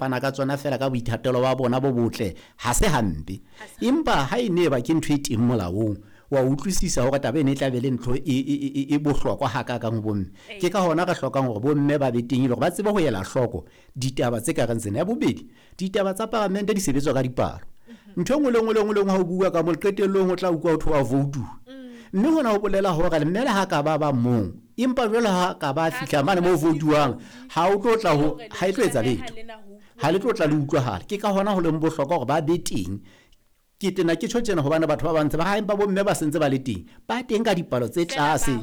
fana ka tsona fela ka boithatelo ba bona bo botle, ha se hampe. Empa ha e ne ba ke ntho e teng molaong, wa utlwisisa hore taba ena e tla be le ntho e bohlokwa hakakang ho bomme. Ke ka hona re hlokang hore bomme ba be teng e le hore ba tsebe ho ela hloko ditaba tse ka reng tsena. Ya bobedi, ditaba tsa paramente di sebetswa ka dipalo. Ntho e nngwe le nngwe le nngwe le nngwe ha o bua ka mo qetellong o tla utlwa ho thwe wa voutuwa. Mme hona ho bolela hore mme le ha ka ba ba mong, empa jwale ha ka ba fihla mane mo voutuwang, ha o tlo tla ho, ha e tlo etsa letho. Ha le tlo tla le utlwahala. Ke ka hona ho leng bohlokwa hore ba be teng. Ke tena ke tjho tjena hobane batho ba bang ntse ba ha empa bomme ba sentse ba le teng, ba teng ka dipalo tse tlase,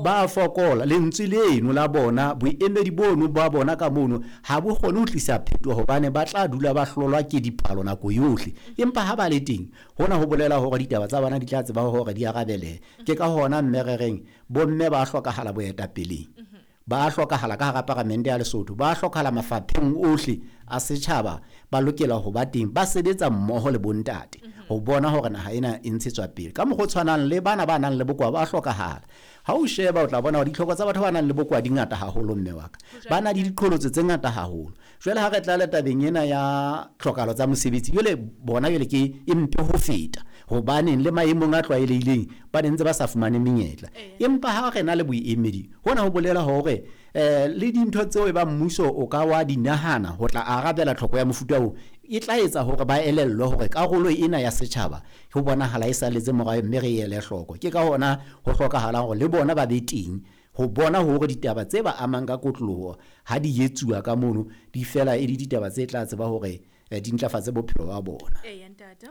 ba fokola. Lentswe leno la bona, boemedi bono ba bona ka mono ha bo kgone ho tlisa phetoho hobane ba tla dula ba hlolwa ke dipalo nako yohle. Empa ha ba le teng, hona ho bolela hore ditaba tsa bona di tla tseba hore di arabelehe. Ke ka hona mme re reng bomme ba hlokahala boetapeleng, ba hlokahala ka hara paramente ya Lesotho, ba hlokahala mafapheng ohle a setjhaba, ba lokela ho ba teng, ba sebetsa mmoho le bontate ho bona hore naha ena e ntshetswa pele. Ka mokgwa o tshwanang le bana ba nang le bokowa ba hlokahala. Ha o sheba o tla bona hore ditlhoko tsa batho ba nang le bokowa di ngata haholo mme wa ka. Ba na le diqholotso tse ngata haholo. Jwale ha re tla le tabeng ena ya tlhokahalo tsa mosebetsi, jwale bona jwale ke e mpe ho feta, hobaneng le maemong a tlwaelehileng ba ne ntse ba sa fumane menyetla. Empa ha re na le boemedi, hona ho bolela hore le dintho tseo e bang mmuso o ka wa di nahana ho tla arabela tlhoko ya mofuta oo, e tla etsa hore ba elellwe hore karolo ena ya setjhaba ho bonahala e salletse morao mme re ele hloko. Ke ka hona ho hlokahalang hore le bona ba be teng ho bona hore ditaba tse ba amang ka kotloloho ha di etsuwa ka mono di fela e le ditaba tse tla tseba hore di ntlafatse bophelo ba bona. Eya ntate,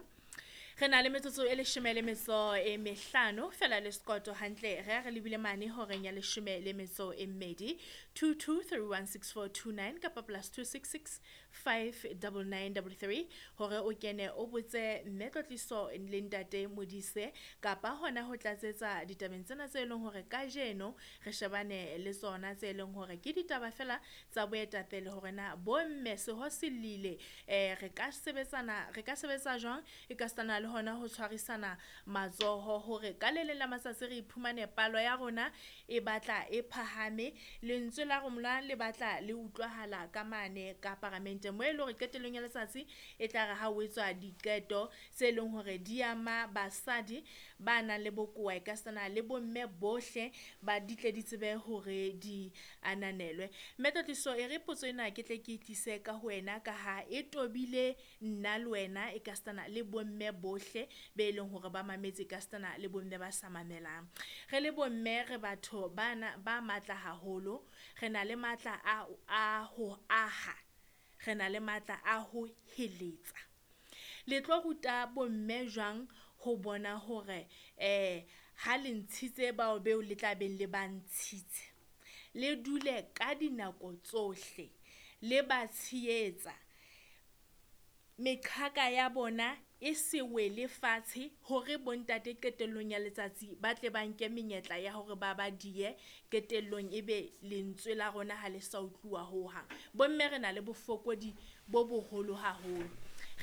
re na le metsotso e 15 fela le sekoto hantle, re re lebile mane horeng ya 12. 22316429 kapa +266 59933 hore o kene o botse mme Tlotliso le ntate Modise kapa hona ho tlatsetsa ditabeng tsena tse leng hore kajeno re shebane le tsona, tse leng hore ke ditaba fela tsa boetapele hore na bomme seho se lile, re ka sebetsana, re ka sebetsa jwang e ka sitana le hona ho tshwarisana matsoho hore ka le leng la matsatsi re iphumane palo ya rona e batla e phahame, lentswe la rona le batla le utlwahala ka mane ka paramente mo e leng hore qetellong ya letsatsi e tla re ha o etswa diqeto tse leng hore di ama basadi ba nang le bokowa e ka sitana le bomme bohle ba di tle di tsebe hore di ananelwe. Mme Tlotliso, e re potso ena ke tle ke e tlise ka ho wena ka ha e tobile nna le wena e ka sitana le bomme bohle be leng hore ba mametse ka sitana le bomme ba sa mamelang. Re le bomme re batho bana ba matla haholo, re na le matla a ho aha, re na le matla a ho heletsa. Le tlo ruta bomme jwang ho bona hore ha le ntshitse bao beo le tla beng le ba ntshitse, le dule ka dinako tsohle le ba tshehetsa, meqhaka ya bona e se wele fatshe hore bontate qetellong ya letsatsi ba tle ba nke menyetla ya hore ba ba diye qetellong ebe lentswe la rona ha le sa utluwa hohang. Bomme re na le bofokodi bo boholo haholo,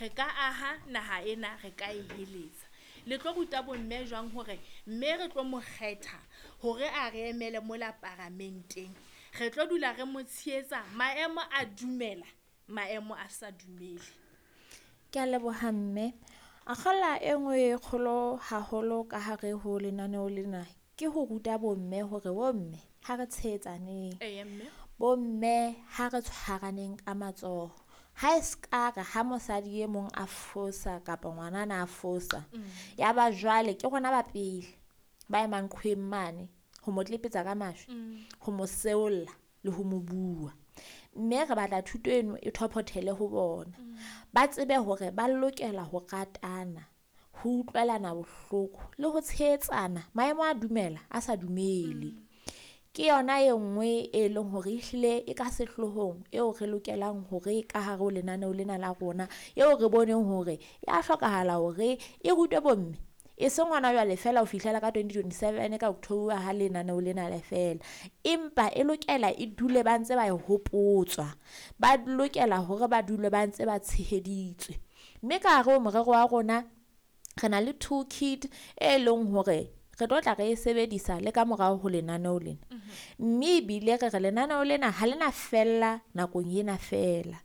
re ka aha naha ena, re ka e heletsa. Le tlo ruta bomme jwang hore mme re tlo mo kgetha hore a re emele mola paramenteng, re tlo dula re mo tshehetsa maemo a dumela, maemo a sa dumele? Ke a leboha mme. Akgola e nngwe e kgolo haholo ka hare ho lenaneo lena ke ho ruta bomme hore bomme ha re tshehetsaneng, Eya mme. bomme ha re tshwaraneng ka matsoho. Ha e ska re ha mosadi e mong a fosa kapa ngwanana a fosa, ya ba jwale ke rona ba pele ba emang qhweng mane ho mo tlepetsa ka majwe, ho mo seolla le ho mo bua. Mme re batla thuto eno e thophothele ho bona, ba tsebe hore ba lokela ho ratana, ho utlwelana bohloko le ho tshehetsana maemo a dumela a sa dumele. Ke yona e nngwe e leng hore ehlile e ka sehlohong eo re lokelang hore ka hare ho lenaneo lena la rona, eo re boneng hore ya hlokahala hore e rutwe bomme, e seng hona jwale fela ho fihlela ka 2027 ka October ha lenaneo lena le fela, empa e lokela e dule ba ntse ba e hopotswa, ba lokela hore ba dule ba ntse ba tsheheditswe. Mme ka hare ho morero wa rona re na le toolkit e leng hore re tlo tla re e sebedisa le ka morao ho lenaneo lena. Mme ebile re re lenaneo lena ha lena fella nakong ena fela.